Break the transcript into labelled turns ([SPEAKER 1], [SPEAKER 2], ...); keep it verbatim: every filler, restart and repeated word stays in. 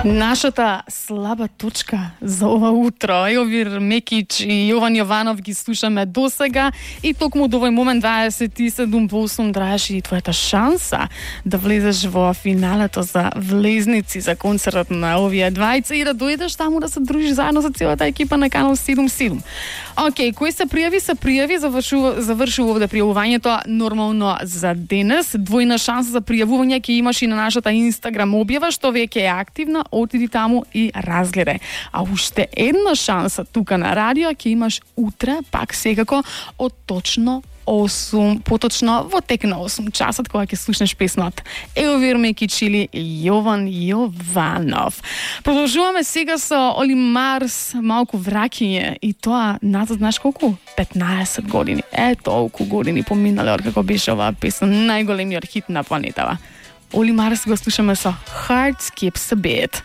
[SPEAKER 1] Нашата слаба точка за ова утро. Јовир Мекич и Јован Јованов ги слушаме досега и токму до овој момент дваесет и седум по осум траеше и твојата шанса да влезеш во финалето за влезници за концертот на овие двајца и да дојдеш таму да се дружиш заедно со целата екипа на Канал седум седум. Океј, кој се пријави, се пријави, завршува, завршува овде пријавувањето нормално за денес. Двојна шанса за пријавување ќе имаш и на нашата Инстаграм објава, што веќе е активна. Отиди таму и разгледај. А уште една шанса тука на радио ќе имаш утре, пак секако, од точно осум, поточно во тек на осум часот, кога ќе слушнеш песнат Јовир Мекич или Јован Јованов. Продолжуваме сега со Оли Марс, малку враќање, и тоа назад, знаеш колку? петнаесет години. Е, толку години поминале од како беше оваа песна, најголемиот хит на планетава. Оли Марс го слушаме со Heart Skips a Beat.